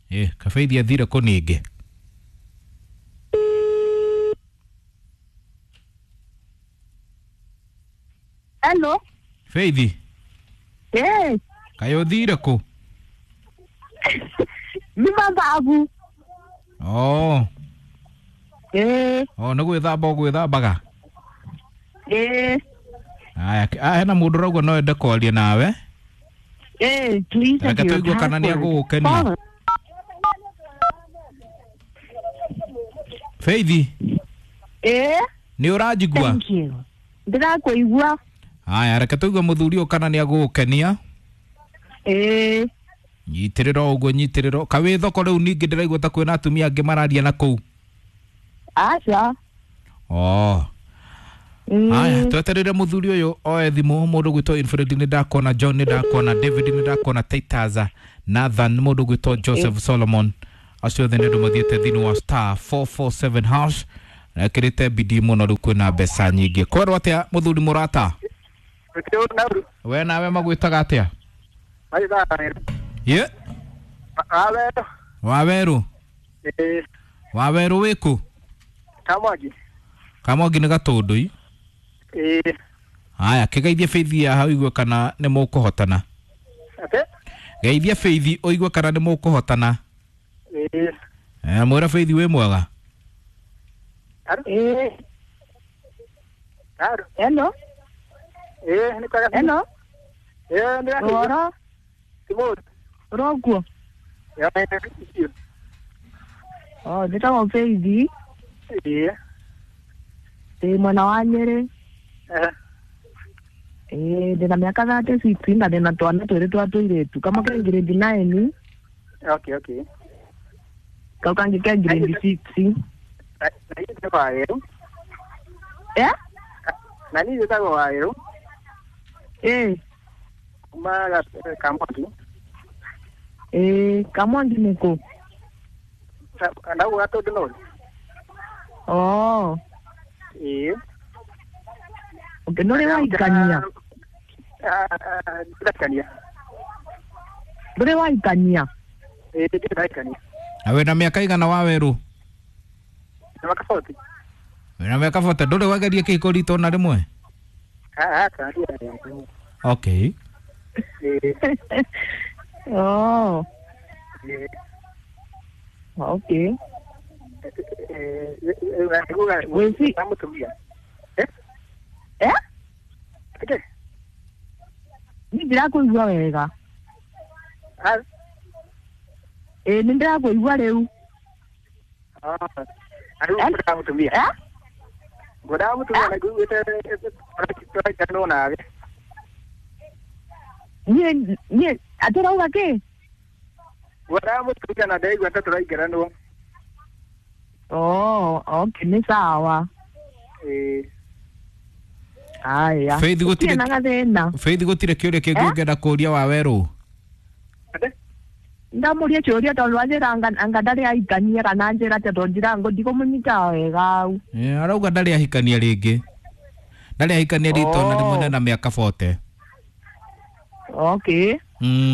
Kabeithi athire kũ ningĩ? Hello. Feithi. Eh. Kaĩ ũthire kũ? Nĩ mathabu. Oh. Eh. Oh, nĩ gwĩthamba ũgwĩthambaga? Eh. Aya, hena mũndũ ũrauga no ende kwaria nawe. Eh, please. Reke tũigue kana nĩ agũgũkenia. Feithi. Eh. Nĩ ũranjigua? Thank you. Ndĩrakũigua. Aya, reke tũigue mũthuri ũyũ kana nĩ agũgũkenia. Eh. Nyitĩrĩra o ũguo, nyitĩrĩra. Kawĩ thoko rĩu ningĩ ndĩraigua ta kwĩna atumia angĩ mararia na kũu. Aca. Oh. Aya, tweterere mũthuri ũyũ oe thimũ. Mũndũ gwĩtwo Infred nĩ ndakona, John nĩ ndakona, David nĩ ndakona, Titus, Nathan, mũndũ gwĩtwo Joseph Solomon, acio othe nĩ andũ mathiĩte thĩinĩ wa *447 hash ekĩrĩte bidii mũno. Rĩu kwĩna mbeca nyingĩ. Kwerwo atĩa mũthuri mũrata? We nawe magwĩtaga atĩa? Ye Wawerũ. Wawerũ wĩkũ? Kamwangi nĩ Gatũndũ. Aya, kĩgeithie Feithi haha ũigue kana nĩ mũkũhotana. Geithia Feithi ũigue kana nĩ mũkũhotana. Mwĩra Feithi wĩ mwega. Hello. Hello. Ũhoro? Ũrokuo? Oh, njĩtagwo Feithi. Ndĩ mwena wa Nyĩrĩ. Ndĩna mĩaka 36 na ndĩna twana twĩrĩ twa tũirĩtu. Kamwe ke grade 9. Okay, okay. Kau kangĩ ke grade 6. Na niĩ njĩtagwo Wawerũ. Eh? Na niĩ njĩtagwo Wawerũ. Eh. Kuma Kamwangi. Eh, Kamwangi nĩ kũ? Ndauga Gatũndũ North. Oh. Ĩĩ. Okay, ndũrĩ waikania? Ndiraikania. Ndũrĩ waikania? Ĩĩ, ndirĩ ndaikania. Na wĩna mĩaka igana Wawerũ? Na mĩaka 40. Wĩna mĩaka 40, ndũrĩ wageria kĩhiko rita ona rĩmwe? Aca, ndirĩ. Okay. Ĩĩ. Oh. Ĩĩ. Okay. Wĩci. Mũtumia. Eh? Ĩkĩ? Niĩ ndirakũigua wega. Ĩĩ, nĩ ndĩrakũigua rĩu. Rĩu ngwendaga mũtumia. Ngwendaga mũtumia na nguĩte tũraikanwo nawe. Niĩ atĩ ũrauga kĩ? Ngwendaga mũtumia na ndĩraigua ta tũraingĩranwo. Oh, okay, nĩ sawa. Ĩĩ. Aya. Faith gũtirĩ Gũtirĩ na gathĩna. Faith gũtirĩ kĩũria kĩngĩ ũngĩenda kũũria Wawerũ? Ndamũria kĩũria tondũ anjĩra anga ndarĩ aikania kana anjĩra atĩa tondũ njira ndikũmũnyita wega au. Arauga ndarĩ ahikania rĩngĩ. Ndarĩ ahikania rita ona rĩmwe na mĩaka 40. Okay.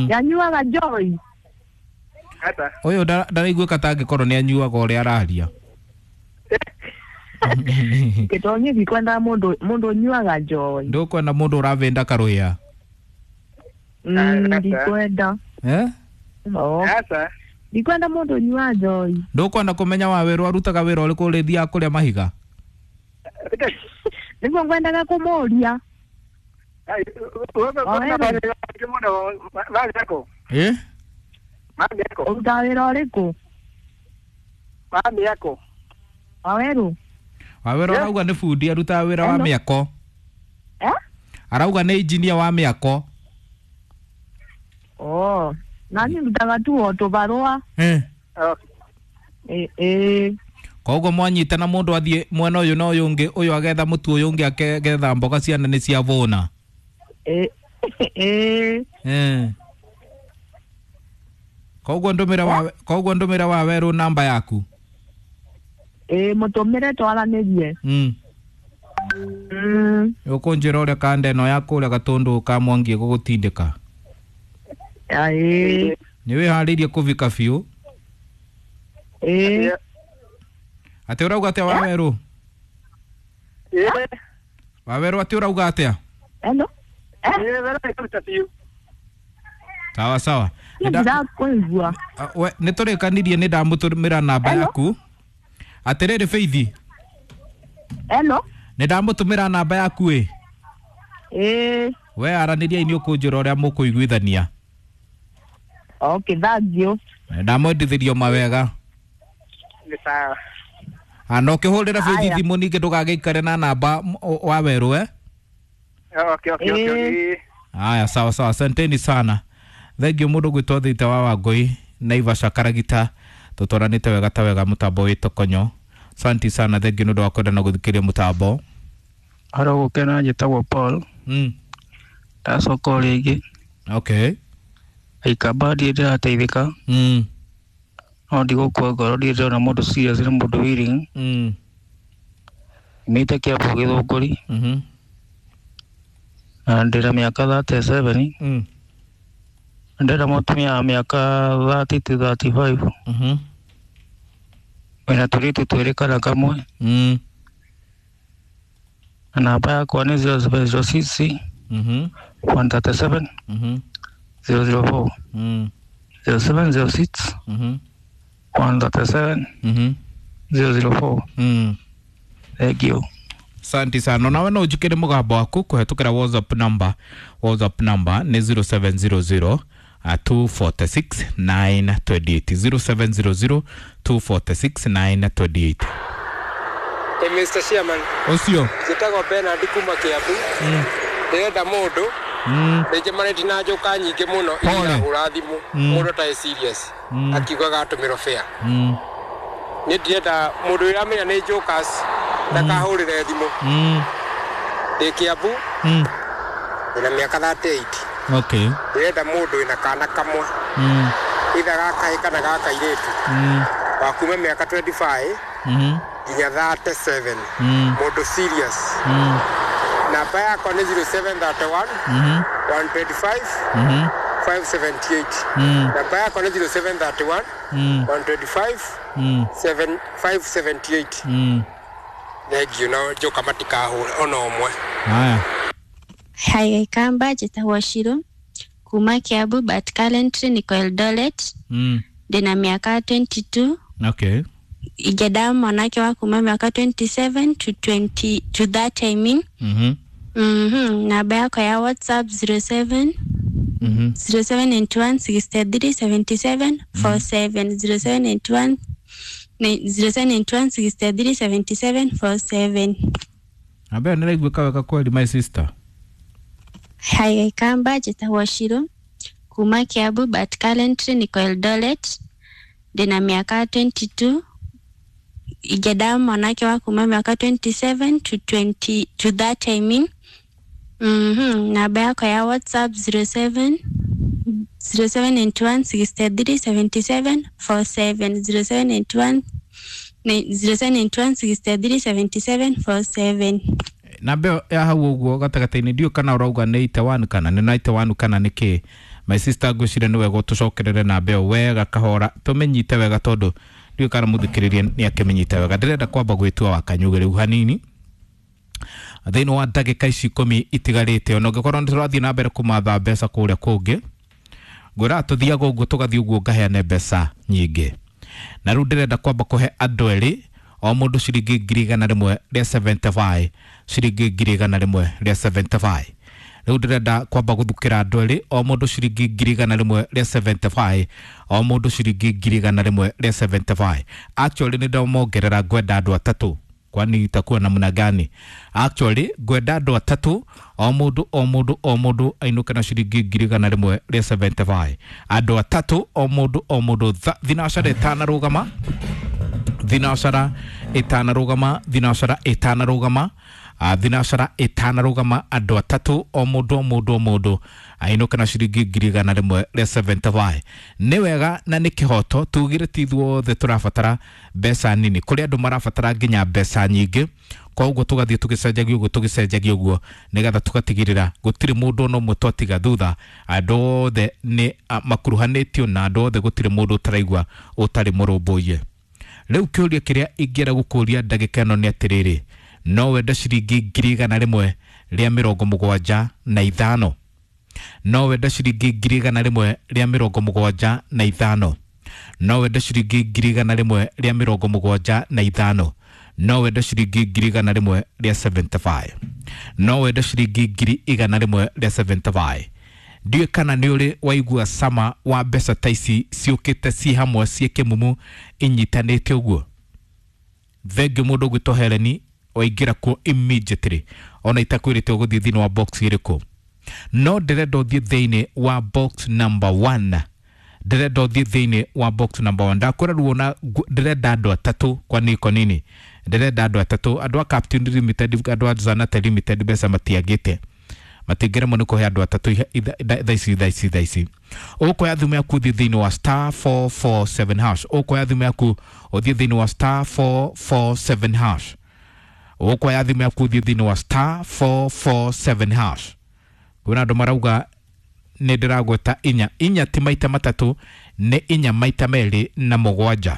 Yanyuaga njoi? Ata. Ũyũ ndaraiguĩka ta angĩkorwo nĩ anyuaga ũrĩa araria. Gĩtonyi ndikwenda mũndũ ũnyuaga njoi. Ndũkwenda mũndũ ũravĩnda karũhĩa? Ndikwenda. Eh? Oh. Aca. Ndikwenda mũndũ ũnyuaga njoi. Ndũkwenda kũmenya Wawerũ arutaga wĩra ũrĩkũ ũrĩthiaga kũrĩa mahiga? Nĩguo ngwendaga kũmũria. Eh? Ũrutaga wĩra ũrĩkũ? Wawerũ. Wawerũ arauga nĩ bundi arutaga wĩra wa mĩako. Eh? Arauga nĩ injinia wa mĩako. Oh, na niĩ ndutaga tu o tũbarũa. Eh. Ĩĩ. Koguo mwanyitana mũndũ athiĩ mwena ũyũ na ũyũ ũngĩ, ũyũ agetha mũtu ũyũ ũngĩ agetha mboga, ciana nĩ ciavũna. Ĩĩ. Eh. Koguo ndũmĩre Wawerũ namba yaku. Ĩĩ, mũtũmĩre twaranĩrie. Ũkũnjĩra ũrĩa kanda ĩno ya kũrĩa Gatũndũ ka Mwangi ĩgũgũtindĩka. Ĩĩ. Nĩ wĩharĩirie kũvika biũ? Ĩĩ. Atĩ ũrauga atĩa Wawerũ? Ĩĩ. Wawerũ atĩ ũrauga atĩa? Hello. Ĩĩ wero ĩkaruta biũ. Sawa sawa. Ndĩrakũigua. We nĩ tũrĩkanirie nĩ ndamũtũmĩra namba yaku. Atĩrĩrĩ Faith. Hello. Nĩ ndamũtũmĩra namba yaku ĩ. Ĩĩ. We aranĩriai nĩ ũkũnjĩra ũrĩa mũkũiguithania. Okay, thank you. Ndamwendithĩrio mawega. Nĩ sawa. Na ũkĩhũrĩra Faith Aya. thimũ ningĩ ndũgagĩikare na namba Wawerũ eh? Okay, okay, okay, okay. Haya, sawa sawa, asanteni sana. Thank you mũndũ gwĩtwo Thita wa Wangũi, Naivasha Karagita, tũtwaranĩte wega ta wega mũtambo wĩ Tokonyo. Asante sana, thank you nĩ ũndũ wa kwenda na gũthikĩrĩria mũtambo. Haro gũkena njĩtagwo Paul. Ndacoka o rĩngĩ. Okay. Aikamba ndirĩ ndĩrateithĩka. No ndigũkua ngoro, ndirĩ ndĩrona mũndũ serious nĩ mũndũ willing. Nyumĩte Kiambu Gĩthũngũri. Na ndĩna mĩaka 37. Ndĩrenda mũtumia wa mĩaka 30 to 35. Wĩna tũirĩtu twĩrĩ kana kamwe. Na namba yakwa nĩ 0706 137 004 0706 137 004. Thank you. Asante sana. Nawe no ũnjĩkĩre mũgambo waku kũhetũkĩra WhatsApp number. WhatsApp number nĩ 0700 246 928 0700 246 928. Hey, Mr. Chairman. Ũcio. Njĩtagwo Bernard kuma Kiambu. Ndĩrenda mũndũ. Nĩnjemanĩtie na njoka nyingĩ mũno iria hũra thimũ. Mũndũ atarĩ serious. Akiugaga atũmĩrwo fare. Niĩ ndĩrenda mũndũ ũrĩa amenya nĩ jokers ndakahũrĩre thimũ. Ndĩ Kiambu. Ndĩna mĩaka 38. Okay. Ndĩrenda mũndũ wĩna kana kamwe. Either ga kahĩĩ kana ga kairĩtu. Wa kuma mĩaka 25 nginya 37. Mũndũ serious. Namba yakwa nĩ 0731 125 578. Namba yakwa nĩ 0731 125 578. Thengiũ na njoka matikahũre ona ũmwe. Haya. Hi, Kamba, njĩtagwo Shiro kuma Kiambu but currently niko Eldoret. Ndĩna mĩaka 22. Okay. Ingĩenda mwanake wa kuma mĩaka 27 to 20 to that I mean. Namba yakwa ya WhatsApp 07 0791 63 77 47 0791 0791 63 77 47. Namba ĩyo nĩraiguĩka wega kweli my sister. Hi, Kamba, njĩtagwo Shiro kuma Kiambu but currently niko Eldoret. Ndĩna mĩaka 22. Ingĩenda mwanake wa kuma mĩaka 27 to 20 to that I mean. Namba yakwa ya WhatsApp 07 0791 63 77 47 0791 0791 63 77 47. Namba ĩyo ya hau ũguo gatagatĩ-inĩ ndiũĩ kana ũrauga nĩ 81 kana nĩ 91 kana nĩ kĩ. My sister ngwĩciria nĩ wega ũtũcokerere namba ĩyo wega kahora tũmĩnyite wega tondũ ndiũĩ kana mũthikĩrĩria nĩ akĩmĩnyita wega. Ndĩrenda kwamba gwĩtua wa kanyugĩ rĩu hanini thĩinĩ wa ndagĩka ici ikũmi itigarĩte, ona ũngĩkorwo nĩ tũrathiĩ na mbere kũmatha mbeca kũrĩa kũngĩ, ngwĩraga tũthiaga ũguo tũgathiĩ ũguo ngaheane mbeca nyingĩ. Na rĩu ndĩrenda kwamba kũhe andũ erĩ o mũndũ ciringi 175,000, ciringi 175,000. Rĩu ndĩrenda kwamba gũthukĩra andũ erĩ o mũndũ ciringi 175,000, o mũndũ ciringi 175,000. Actually nĩ ndamongerera, ngwenda andũ atatũ. Kwani itakuwa namna gani? Actually ngwenda andũ atatũ o mũndũ o mũndũ o mũndũ ainũke na ciringi 175,000. Andũ atatũ o mũndũ o mũndũ thinacara ĩtanarũgama, thinacara ĩtanarũgama, thinacara ĩtanarũgama, thinacara ĩtanarũgama, andũ atatũ o mũndũ o mũndũ o mũndũ ainũke na ciringi 175,000. Nĩ wega na nĩ kĩhoto tugire ti ithuothe tũrabatara mbeca nini, kũrĩ andũ marabatara nginya mbeca nyingĩ. Koguo tũgathiĩ tũgĩcenjagia ũguo tũgĩcenjagia ũguo nĩgetha tũgatigĩrĩra gũtirĩ mũndũ ona ũmwe twatiga thutha. Andũ othe nĩ makuruhanĩtio na andũ othe, gũtirĩ mũndũ ũtaraigua ũtarĩ mũrũmbũiye. Rĩu kĩũria kĩrĩa ingĩenda gũkũria ndagĩka ĩno nĩ atĩrĩrĩ, no wende ciringi 175,000? No wende ciringi 175,000? No wende ciringi 175,000? No wende ciringi 175,000? No wende ciringi 175,000? Ndiũĩ kana nĩ ũrĩ waigua cama wa mbeca ta ici ciũkĩte ci hamwe ciĩ kĩmumu inyitanĩte ũguo. Thengiũ mũndũ ũgwĩtwo Helen waingĩra kuo immediately, ona itakwĩrĩte ũgũthiĩ thĩinĩ wa box ĩrĩkũ, no ndĩrenda ũthiĩ thĩinĩ wa box number 1. Ndĩrenda ũthiĩ thĩinĩ wa box number 1. Ndakwĩra ruona ndĩrenda andũ atatũ. Kwa niko nini ndĩrenda andũ atatũ? Andũ a Captain Limited, andũ a Zanate Limited mbeca matiagĩte, matingĩremwo nĩ kũhe andũ atatũ thaa ici thaa ici thaa ici. Ũkoya thimũ yaku ũthiĩ thĩinĩ wa star 447 hash. Ũkoya thimũ yaku ũthiĩ thĩinĩ wa star 447 hash. Ũkoya thimũ yaku ũthiĩ thĩinĩ wa star 447 hash. Kwĩna andũ marauga nĩ ndĩragweta inya inya, ti maita matatũ, nĩ inya maita merĩ na mũgwanja,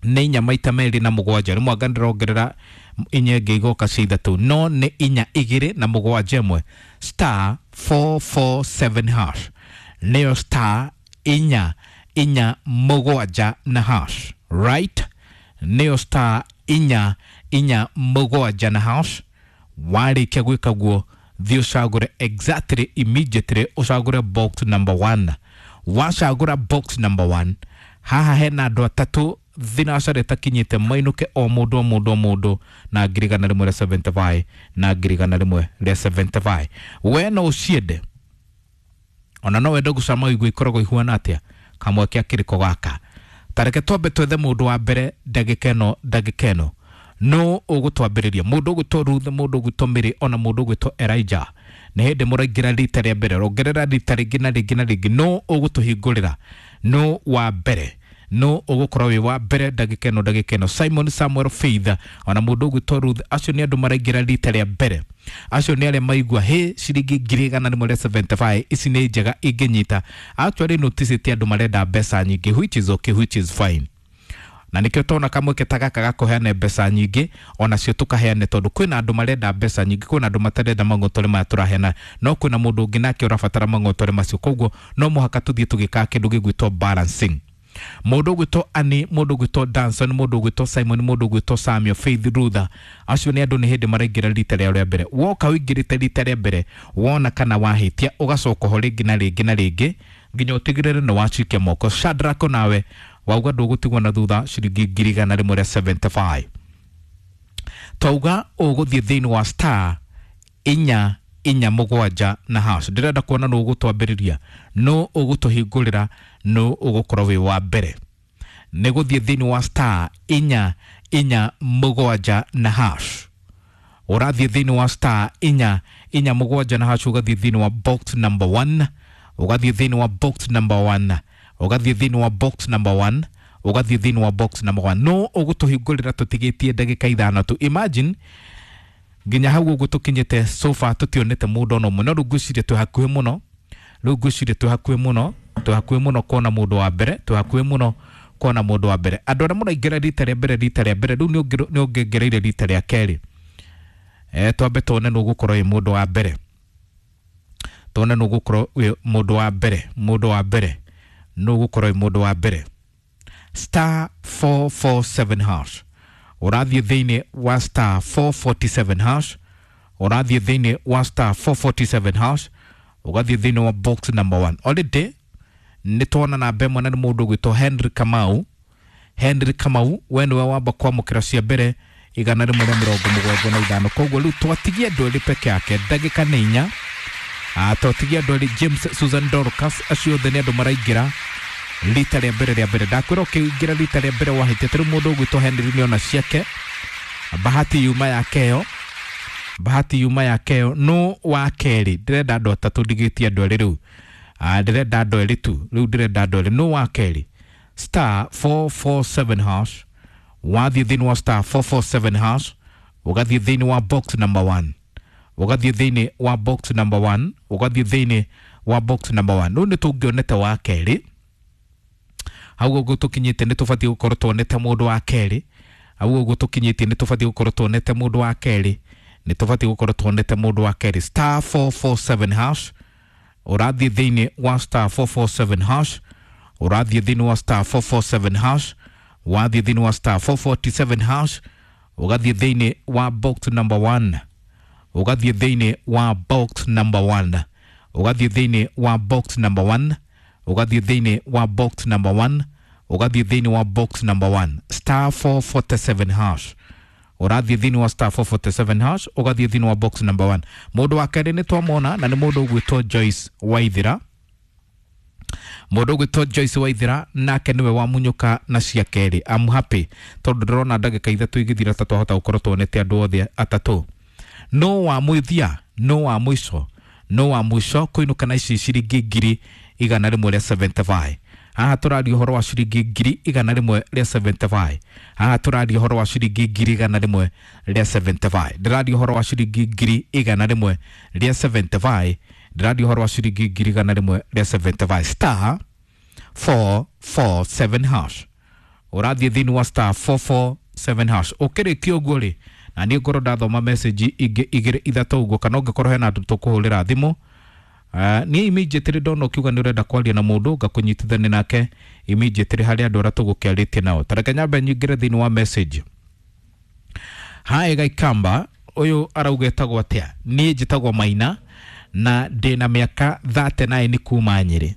nĩ inya maita merĩ na mũgwanja. Rĩmwe anga ndĩrongerera inya ĩngĩ igoka cia ithatũ, no nĩ inya igĩrĩ na mũgwanja ĩmwe. Star 447 hash, nĩyo star inya inya mũgwanja na hash, right? Nĩyo star inya inya mũgwanja na hash. Warĩkia gwĩka guo, thiĩ ũcagũre exactly immediately, ũcagũre box number 1. Wacagũra box number 1, haha hena andũ atatũ thinacara ĩtakinyĩte mainũke o mũndũ o mũndũ o mũndũ na 175,000 na 175,000. We no ũciende, ona no wende gũcama ũigue ikoragwo ihuana atĩa kamweke akĩrĩko gaka. Tareke twambe twethe mũndũ wa mbere ndagĩka ĩno, ndagĩka ĩno no ũgũtwambĩrĩria mũndũ ũgwĩtwo Ruth, mũndũ ũgwĩtwo Mary, ona mũndũ ũgwĩtwo Elijah. Nĩ hĩndĩ mũraingĩra rita rĩa mbere, rongerera rita rĩngĩ na rĩngĩ na rĩngĩ. No ũgũtũhingũrĩra no wa mbere, no ũgũkorwo wĩ wa mbere ndagĩka ĩno, ndagĩka ĩno. Simon, Samuel, Faith ona mũndũ ũgwĩtwo Ruth, acio nĩ andũ maraingĩra rita rĩa mbere. Acio nĩ arĩa maigua hĩ ciringi 175,000 ici nĩ njega ingĩnyita. Actually notice ti andũ marenda mbeca nyingĩ, which is okay, which is fine. Na nĩkĩo tona kamweke ta gaka gakũheana mbeca nyingĩ, onacio tũkaheane, tondũ kwĩna andũ marenda mbeca nyingĩ, kwĩna andũ matarenda mang'otore maya tũraheana, no kwĩna mũndũ ũngĩ nake ũrabatara mang'otore macio. Koguo no mũhaka tũthiĩ tũgĩkaga kĩndũ gĩgwĩtwo balancing. Mũndũ ũgwĩtwo Annie, mũndũ ũgwĩtwo Danson, mũndũ ũgwĩtwo Simon, mũndũ ũgwĩtwo Samuel, Faith, Rutha, acio nĩ andũ nĩ hĩndĩ maraingĩra rita rĩao rĩa mbere. Woka ũingĩrĩte rita rĩa mbere, wona kana wahĩtia, ũgacoka ho rĩngĩ na rĩngĩ na rĩngĩ nginya ũtigĩrĩre nĩ wacikia moko. Shadrack, nawe wauga ndũgũtigwo na thutha ciringi 175,000. Twauga ũgũthiĩ thĩinĩ wa star inya inya mũgwanja na hash. Ndĩrenda kuona nũ ũgũtwambĩrĩria, nũ ũgũtũhingũrĩra, nũ ũgũkorwo wĩ wa mbere. Nĩ gũthiĩ thĩinĩ wa star inya inya mũgwanja na hash. Ũrathiĩ thĩinĩ wa star inya inya mũgwanja na hash, ũgathiĩ thĩinĩ wa box number 1, ũgathiĩ thĩinĩ wa box number 1, ũgathiĩ thĩinĩ wa box number 1, ũgathiĩ thĩinĩ wa box number 1. No ũgũtũhingũrĩra tũtigĩtie ndagĩka ithano tu. Imagine nginya hau ũguo tũkinyĩte so far tũtionete mũndũ ona ũmwe, no rĩu ngwĩciria twĩ hakuhĩ mũno, rĩu ngwĩciria twĩ hakuhĩ mũno, twĩ hakuhĩ mũno kuona mũndũ wa mbere, twĩ hakuhĩ mũno kuona mũndũ wa mbere. Andũ arĩa mũraingĩra rita rĩa mbere, rita rĩa mbere rĩu nĩ ũngĩongereire rita rĩa kerĩ. Twambe tuone nũ ũgũkorwo wĩ mũndũ wa mbere, tuone nũ ũgũkorwo wĩ mũndũ wa mbere, mũndũ wa mbere nũ ũgũkorwo wĩ mũndũ wa mbere. Star 447 hash, ũrathiĩ thĩinĩ wa star 447 hash, ũrathiĩ thĩinĩ wa star 447 hash, ũgathiĩ thĩinĩ wa box number 1. Already nĩ tuona namba ĩmwe na nĩ mũndũ ũgwĩtwo Henry Kamau. Henry Kamau, we nĩwe wamba kwamũkĩra cia mbere 175. Koguo rĩu twatigia andũ erĩ peke yake, ndagĩka nĩ inya. Twatigia andũ erĩ, James, Susan, Dorcas, acio othe nĩ andũ maraingĩra rita rĩa mbere rĩa mbere. Ndakwĩra ũkĩingĩra rita rĩa mbere wahĩtia, ta rĩu mũndũ ũgwĩtwo Henry nĩona ciake, bahati yuma yake ĩyo, bahati yuma yake ĩyo. No wa kerĩ, ndĩrenda andũ atatũ, ndigĩtie andũ erĩ rĩu. Ndĩrenda andũ erĩ tu rĩu, ndĩrenda andũ erĩ. No wa kerĩ, star 447 hash, wathiĩ thĩinĩ wa star 447 hash, ũgathiĩ thĩinĩ wa box number 1, ũgathiĩ thĩinĩ wa box number 1, ũgathiĩ thĩinĩ wa box number 1. Rĩu nĩ tũngĩonete wa kerĩ. Hau ũguo tũkinyĩte nĩ tũbatiĩ gũkorwo tuonete mũndũ wa kerĩ. Hau ũguo tũkinyĩtie nĩ tũbatiĩ gũkorwo tuonete mũndũ wa kerĩ. Nĩ tũbatiĩ gũkorwo tuonete mũndũ wa kerĩ. Star 447 hash. Ũrathiĩ thĩinĩ wa star 447 hash. Ũrathiĩ thĩinĩ wa star 447 hash. Wathiĩ thĩinĩ wa star 447 hash. Ũgathiĩ thĩinĩ wa box number 1. Ũgathiĩ thĩinĩ wa box number 1. Ũgathiĩ thĩinĩ wa box number 1. Ũgathiĩ thĩinĩ wa box number 1. Ũgathiĩ thĩinĩ wa box number 1. Star 447 hash. Ũrathiĩ thĩinĩ wa star 447 hash. Ũgathiĩ thĩinĩ wa box number 1. Mũndũ wa kerĩ nĩ twamwona na nĩ mũndũ ũgwĩtwo Joyce Waithira. Mũndũ ũgwĩtwo Joyce Waithira nake nĩwe wamunyũka na cia kerĩ. I'm happy tondũ ndĩrona ndagĩka ithatũ igĩthira ta twahota gũkorwo tuonete andũ othe atatũ. No wa mũthia, no wa mũico, no wa mũico kũinũka na ici ciringi ngiri igana rĩmwe rĩa 75. Haha tũraria ũhoro wa ciringi ngiri igana rĩmwe rĩa 75. Haha tũraria ũhoro wa ciringi ngiri igana rĩmwe rĩa 75. Ndĩraria ũhoro wa ciringi ngiri igana rĩmwe rĩa 75. Ndĩraria ũhoro wa ciringi ngiri igana rĩmwe rĩa 75. Star 447 hash. Ũrathiĩ thĩinĩ wa star 447 hash. Ũkĩrĩkia ũguo rĩ, na niĩ ngorwo ndathoma message ingĩ igĩrĩ ithatũ ũguo, kana ũngĩkorwo hena andũ tũkũhũrĩra thimũ. Niĩ immediately ndona ũkiuga nĩ ũrenda kwaria na mũndũ ngakũnyitithania nake immediately harĩ andũ arĩa tũgũkĩarĩtie nao. Ta reke nyambe nyingĩre thĩinĩ wa message. Hi Gaikamba, ũyũ arauga etagwo atĩa? Niĩ njĩtagwo Maina na ndĩna mĩaka 39 kuma Nyĩrĩ.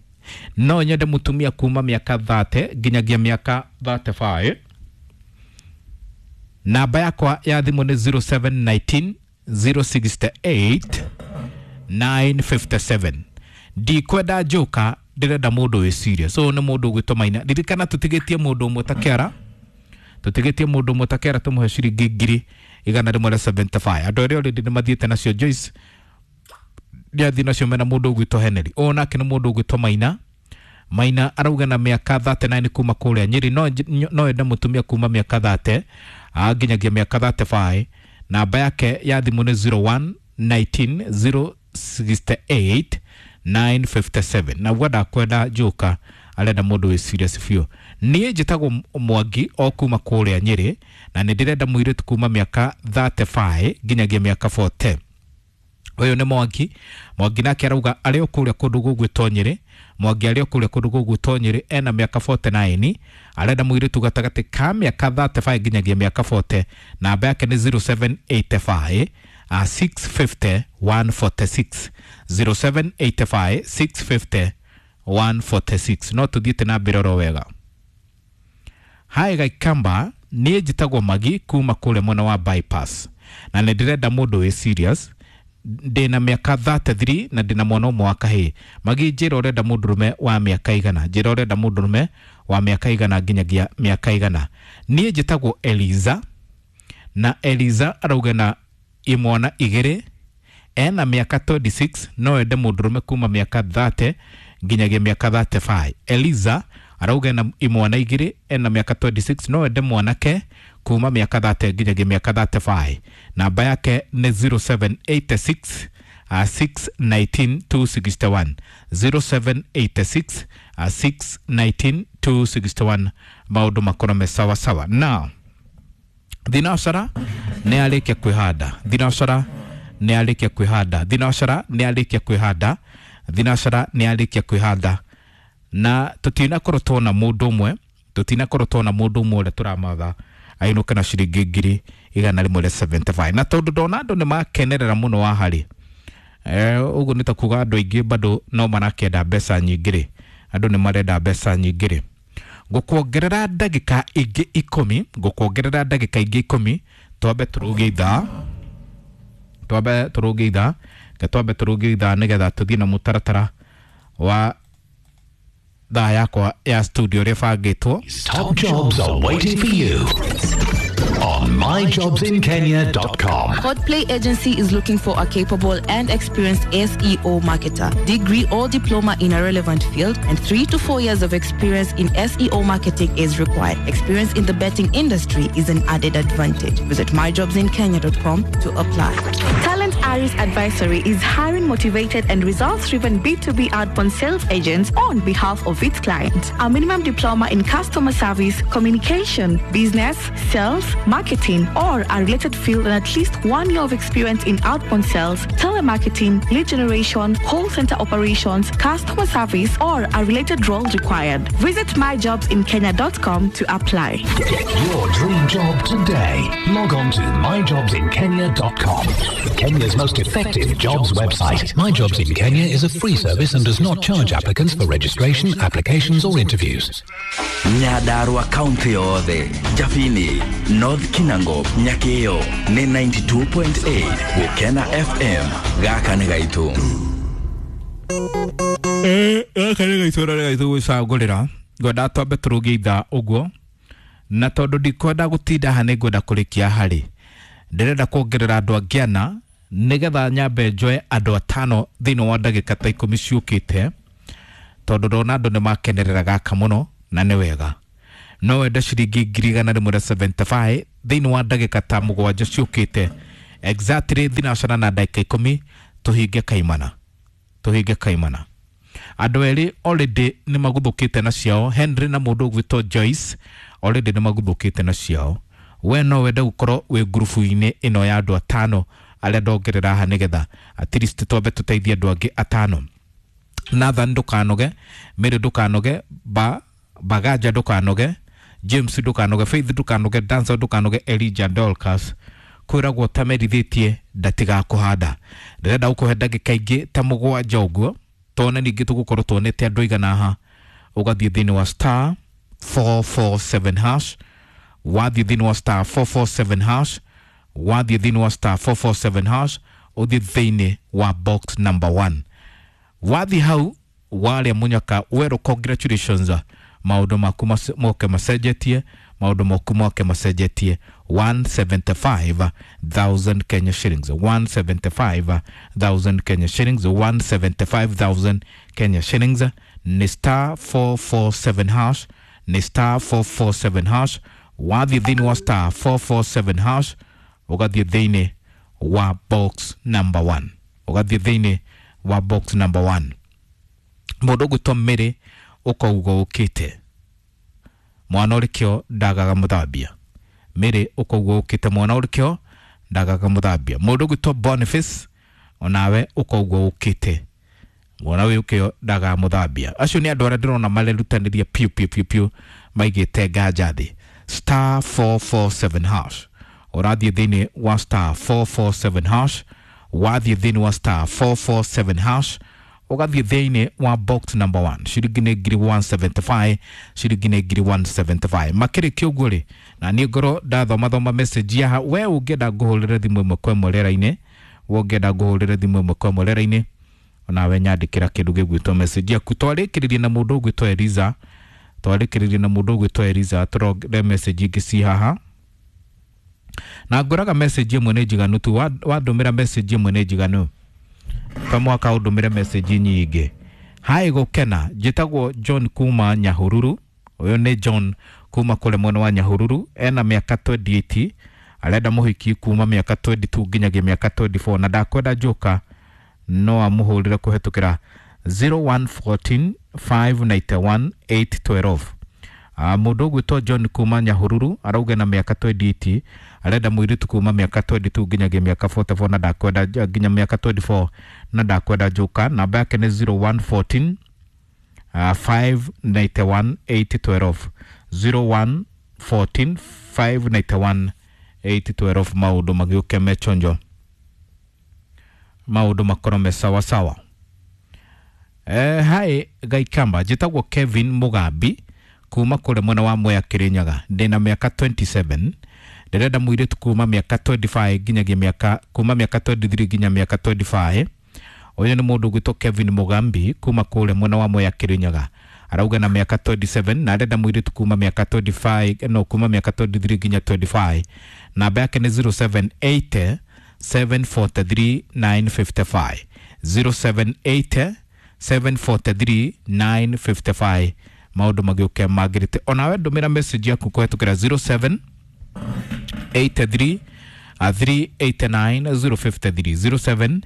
No nyende mũtumia kuma mĩaka 30 nginyagia mĩaka 35. Namba yakwa ya thimũ nĩ 0719 068 957. Ndikwenda njoka, ndĩrenda mũndũ wĩ serious. So nĩ mũndũ ũgwĩtwo Maina. Ririkana tũtigĩtie mũndũ ũmwe ta kĩara. Tũtigĩtie mũndũ ũmwe ta kĩara tũmũhe ciringi ngiri igana rĩmwe rĩa 75. Andũ arĩa already nĩ mathiĩte nacio. Joyce nĩathiĩ nacio mena mũndũ ũgwĩtwo Henry. Ũyũ nake nĩ mũndũ ũgwĩtwo Maina. Maina arauga na mĩaka 39 kuma kũrĩa Nyĩrĩ. No ende mũtumia kuma mĩaka 30 nginyagia mĩaka 35. Namba yake ya thimũ nĩ 0119 068 957. Na uga ndakwenda njoka, arenda mũndũ wĩ serious biũ. Niĩ njĩtagwo Mwangi o kuma kũrĩa Nyĩrĩ na nĩ ndĩrenda mũirĩtu kuma mĩaka 35 nginyagia mĩaka 40. Ũyũ nĩ Mwangi. Mwangi nake arauga arĩ o kũrĩa kũndũ gũgwĩtwo Nyĩrĩ. Mwangi arĩ o kũrĩa kũndũ gũgwĩtwo Nyĩrĩ, ena mĩaka 49, arenda mũirĩtu gatagatĩ ka mĩaka 35 nginyagia mĩaka 40. Namba yake nĩ 0785 650 146. 0785 650 146. No tũthiĩte na mbere oro wega. Hi Gaikamba, niĩ njĩtagwo Magi kuma kũrĩa mwena wa bypass na nĩ ndĩrenda mũndũ wĩ serious. Ndĩna mĩaka 33 na ndĩna mwana ũmwe wa kahĩĩ. Magi, njĩra ũrenda mũndũrũme wa mĩaka igana. Njĩra ũrenda mũndũrũme wa mĩaka igana nginyagia mĩaka igana. Niĩ njĩtagwo Eliza na Eliza arauga na imwana igĩrĩ, ena mĩaka 26, no ende mũndũrũme kuma mĩaka 30 nginyagia mĩaka 35. Eliza arauga na imwana igĩrĩ, ena mĩaka 26, no ende mwanake kuma mĩaka 30 nginyagia mĩaka 35. Namba yake nĩ 0786 619 261. 0786 619 261. Maũndũ makorwo me sawa sawa. Now thinacara nĩ arĩkia kwĩhanda. Thinacara nĩ arĩkia kwĩhanda. Thinacara nĩ arĩkia kwĩhanda. Thinacara nĩ arĩkia kwĩhanda. Na tũtinakorwo tuona mũndũ ũmwe, tũtinakorwo tuona mũndũ ũmwe ũrĩa tũramatha ainũke na ciringi ngiri igana rĩmwe rĩa 75. Na tondũ ndona andũ nĩ makenerera mũno wa harĩ ũguo nĩ ta kuga andũ aingĩ bado no marakĩenda mbeca nyingĩ rĩ, andũ nĩ marenda mbeca nyingĩ rĩ. Ngũkuongerera ndagĩka ingĩ ikũmi, ngũkuongerera ndagĩka ingĩ ikũmi, twambe tũrũgie ithaa, twambe tũrũgie ithaa, ke twambe tũrũgie ithaa nĩgetha tũthiĩ na mũtaratara wa thaa yakwa ya studio ũrĩa ĩbangĩtwo. Top jobs are waiting for you on myjobsinkenya.com. Codplay Agency is looking for a capable and experienced SEO marketer, degree or diploma in a relevant field, and 3 to 4 years of experience in SEO marketing is required. Experience in the betting industry is an added advantage. Visit myjobsinkenya.com to apply. Talent Aris Advisory is hiring motivated and results-driven B2B outbound sales agents on behalf of its clients. A minimum diploma in customer service, communication, business, sales, marketing, or a related field and at least 1 year of experience in outbound sales, telemarketing, lead generation, call center operations, customer service, or a related role required. Visit myjobsinkenya.com to apply. Get your dream job today. Log on to myjobsinkenya.com. Kenya's most effective jobs website. My Jobs in Kenya is a free service and does not charge applicants for registration, applications, or interviews. Nyandarua kaunti yothe, Jabini, North Kinango, Nyakeo nĩ 92.8 Gũkena FM. Gaka nĩ gaitũ. Gaka nĩ gaitũ na nĩ gaitũ gwĩcagũrĩra. Ngwenda twambe tũrũgie ithaa ũguo, na tondũ ndikwenda gũtinda haha nĩ ngwenda kũrĩkia harĩ ndĩrenda kuongerera andũ angĩ ana nĩgetha nyambe njoe andũ atano thĩinĩ wa ndagĩka ta 10 ciũkĩte, tondũ ndona andũ nĩ makenerera gaka mũno na nĩ wega. No wende ciringi 175 thĩinĩ wa ndagĩka ta 7 ciũkĩte, exactly thinacana na ndagĩka 10 tũhinge kaimana, tũhinge kaimana. Andũ erĩ already nĩ maguthũkĩte na ciao, Henry na mũndũ ũgwĩtwo Joyce already nĩ maguthũkĩte na ciao. We no wende gũkorwo wĩ ngurubu-inĩ ĩno ya andũ atano arĩa ndongerera haha nĩgetha at least twambe tũteithie andũ angĩ atano. Nathan ndũkanoge, Mary ndũkanoge, Bagaja ndũkanoge, James ndũkanoge, Faith ndũkanoge, Dancer ndũkanoge, Elijah Dorcas kwĩragwo tamerithĩtie ndatigakũhanda. Ndĩrenda gũkũhe ndagĩka ingĩ ta 7 ũguo, tone ningĩ tũgũkorwo tuonete andũ aigana haha. Ũgathiĩ thĩinĩ wa star 447 hash, wathiĩ thĩinĩ wa star 447 hash, wathiĩ thĩinĩ wa star 447 hash, ũthiĩ thĩinĩ wa box number 1. Wathiĩ hau warĩa mũnyaka werũ, congratulations, maũndũ maku moke macenjetie, maũndũ maku moke macenjetie. 175,000 Kenya shillings, 175,000 Kenya shillings, 175,000 Kenya shillings ni star 447 hash, ni star 447 hash. Wathiĩ thĩinĩ wa star 447 hash, ũgathiĩ thĩinĩ wa box number 1, ũgathiĩ thĩinĩ wa box number 1. Mũndũ ũgwĩtwo Mary ũkauga ũkĩte mwana ũrĩkĩo ndagaga mũthambia. Mary ũkauga ũkĩte mwana ũrĩkĩo ndagaga mũthambia. Mũndũ ũgwĩtwo Boniface onawe ũkauga ũkĩte mwana ũyũ ndagaga mũthambia. Acio nĩ andũ arĩa ndĩrona marerutanĩria piũ piũ piũ piũ maigĩte nganja thĩ. Star 447 hash, ũrathiĩ thĩinĩ wa star 447 hash, wathiĩ thĩinĩ wa star 447 hash, ũgathiĩ thĩinĩ wa box number 1. Ciringi nĩ 175, ciringi nĩ 175. Makĩrĩkia ũguo rĩ, na niĩ ngorwo ndathomathoma message yaha, we ũngĩenda ngũhũrĩre thimũ ĩmwe kwa ĩmwe rĩera-inĩ, we ũngĩenda ngũhũrĩre thimũ ĩmwe kwa ĩmwe rĩera-inĩ, onawe nyandĩkĩra kĩndũ gĩgwĩtwo message yaku. Twarĩkĩrĩrie na mũndũ ũgwĩtwo Eliza, twarĩkĩrĩrie na mũndũ ũgwĩtwo Eliza, tũrongere message ingĩ ci haha. Na ngũraga message ĩmwe nĩ njiganu tu, wandũmĩra message ĩmwe nĩ njiganu, to mwaka ũndũmĩre message nyingĩ. Hi Gũkena, njĩtagwo John kuma Nyahururu. Ũyũ nĩ John kuma kũrĩa mwena wa Nyahururu, ena mĩaka 28, arenda mũhiki kuma mĩaka 22 nginyagia mĩaka 24, na ndakwenda njoka no amũhũrĩre kũhetũkĩra 0114 591 812. Mũndũ ũgwĩtwo John kuma Nyahururu arauga na mĩaka 28, arenda mũirĩtu kuma mĩaka 22 nginyagia mĩaka 44 na ndakwenda nginya mĩaka 24 na ndakwenda njoka. Namba yake nĩ 0114 591 812, 0114 591 812. Maũndũ magĩũke mechonjo, maũndũ makorwo me sawa sawa. Hi Gaikamba, njĩtagwo Kevin Mugambi kuma kũrĩa mwena wa Mwea Kĩrĩnyaga, ndĩna mĩaka 27, ndĩrenda mũirĩtu kuma mĩaka 25 nginyagia mĩaka kuma mĩaka 23 nginya mĩaka 25. Ũyũ nĩ mũndũ ũgwĩtwo Kevin Mugambi kuma kũrĩa mwena wa Mwea Kĩrĩnyaga, arauga na mĩaka 27 na arenda mũirĩtu kuma mĩaka 25 no kuma mĩaka 23 nginya 25. Namba yake nĩ 078 743 955, 078 743 955. Maũndũ magĩũke magĩrĩte. Onawe ndũmĩra message yaku kũhetũkĩra 07 83 389 053, 07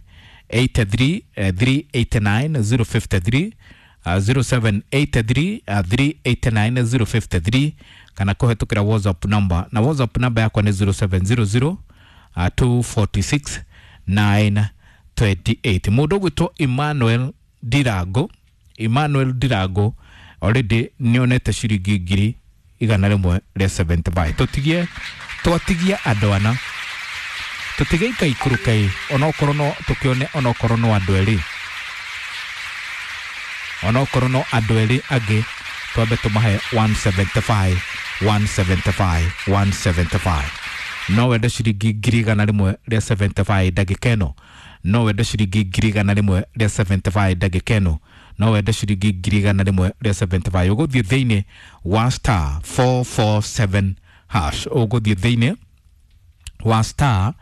83 389 053, 0783 389 053, kana kũhetũkĩra WhatsApp number, na WhatsApp number yakwa nĩ 0700 246 928. Mũndũ ũgwĩtwo Emmanuel Ndirango, Emmanuel Ndirango already nĩonete ciringi 175,000. Tũtigie, twatigia andũ ana, tũtige ikaikũrũka ĩ, onokorwo no tũkĩone, onokorwo no andũ erĩ, onokorwo no andũ erĩ angĩ, twambe tũmahe 175, 175, 175. No wende ciringi 175,000 ndagĩka ĩno? No wende ciringi 175,000 ndagĩka ĩno? No wende ciringi 175,000? Ũgũthiĩ thĩinĩ wa star 447 hash, ũgũthiĩ thĩinĩ wa star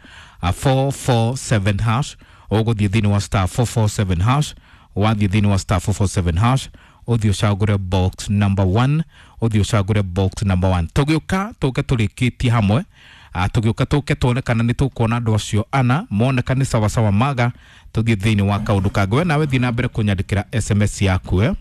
447 hash, ũgũthiĩ thĩinĩ wa star 447 hash. Wathiĩ thĩinĩ wa star 447 hash, ũthiĩ ũcagũre box number 1, ũthiĩ ũcagũre box number 1. Tũgĩũka tũke tũrĩkĩtie hamwe. Tũgĩũka tũke tuone kana nĩ tũkuona andũ acio ana moneka nĩ sawasawa maga, tũthiĩ thĩinĩ wa kaũndũ kangĩ. We nawe thiĩ na mbere kũnyandĩkĩra SMS yaku, eh?